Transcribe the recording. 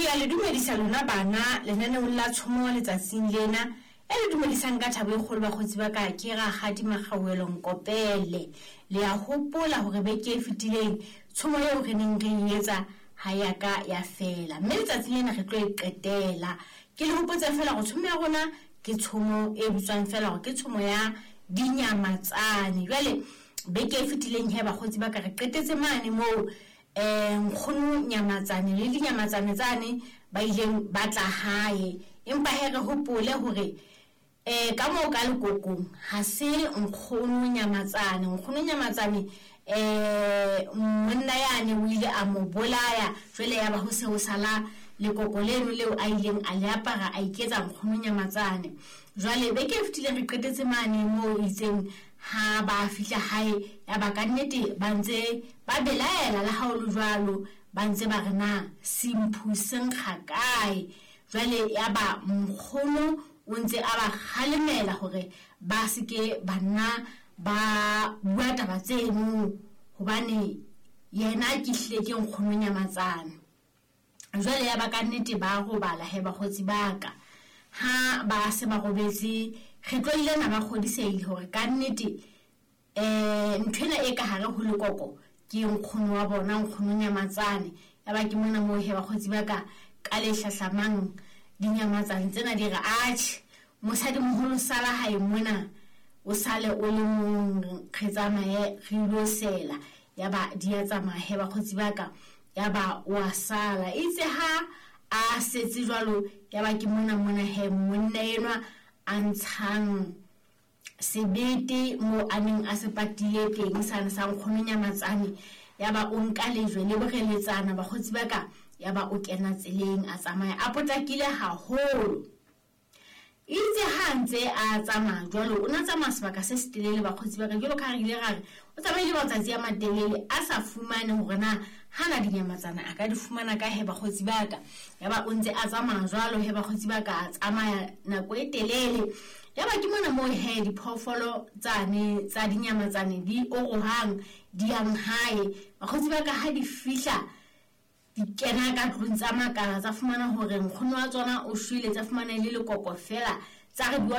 Ke a le dumedisa lona bana lenaneong la tshomo letsatsing lena. E le dumedisang ka thabo e kgolo bakgotsi ba ka ke Rakgadi Makgauelo Nkopele. Le a hopola hore beke e fetileng tshomo eo re neng re e etsa ha ya ka ya fela. Mme letsatsing lena re tlo e qetela. Ke le hopotse fela hore tshomo ya rona ke tshomo e bitswang fela hore ke tshomo ya dinyamatsane. Jwale beke e fetileng he bakgotsi ba ka re qetetse mane moo Nkgono Nyamatsane le dinyamatsane tsane ba ileng ba tla hae. Empa he re hopole hore ka moo ka lekokong ha se Nkgono Nyamatsane. Nkgono Nyamatsane monna yane o ile a mo bolaya, jwale ya ba ho se ho sala lekoko leno leo a ileng a le apara a iketsa Nkgono Nyamatsane. Jwale beke e fetileng re qetetse mane moo itseng ha ba fihla hae ya ba ka nnete ba ntse ba belaela le ha o le jwalo ba ntse ba re na semphu se nkga kae. Jwale ya ba nkgono o ntse a ba kgalemela hore ba se ke ba nna ba bua taba tseno hobane yena ke hlile ke nkgono Nyamatsane. Jwale ya ba ka nnete ba robala he bakgotsi ba ka. Ha ba se ba robetse re tlo ile na ba kgodisehile hore ka nnete nthwena e ka hare ho lekoko ke nkgono wa bona nkgono Nyamatsane. Ya ba ke mona moo he bakgotsi ba ka ka le hlahlamang dinyamatsane tsena di re atjhe mosadimoholo sala hae mona o sale o le mong re tsamaye re ilo sela. Ya ba di a tsamaya he bakgotsi ba ka ya ba wa sala. Itse ha a setse jwalo ya ba ke mona mona he monna enwa a ntshang sebete mo a neng a se patile teng sane sa nkgono Nyamatsane. Ya ba o nka lejwe le boreletsana bakgotsi ba ka ya ba o kena tseleng a tsamaya a potlakile haholo. Itse ha ntse a tsamaya jwalo o na tsamaya sebaka se setelele bakgotsi ba ka jwalo ka ha re ile ra re o tsamaile matsatsi a matelele a sa fumane hore na hana dinyamatsana a ka di fumana ka he bakgotsi ba ka. Ya ba o ntse a tsamaya jwalo he bakgotsi ba ka a tsamaya nako e telele. Ya ba ke mona moo he diphoofolo tsane tsa dinyamatsane di orohang di yang hae. Bakgotsi ba ka ha di fihla di kena ka tlung tsa makala tsa fumana hore nkgono wa tsona o shwele, tsa fumana e le lekoko fela tsa re bua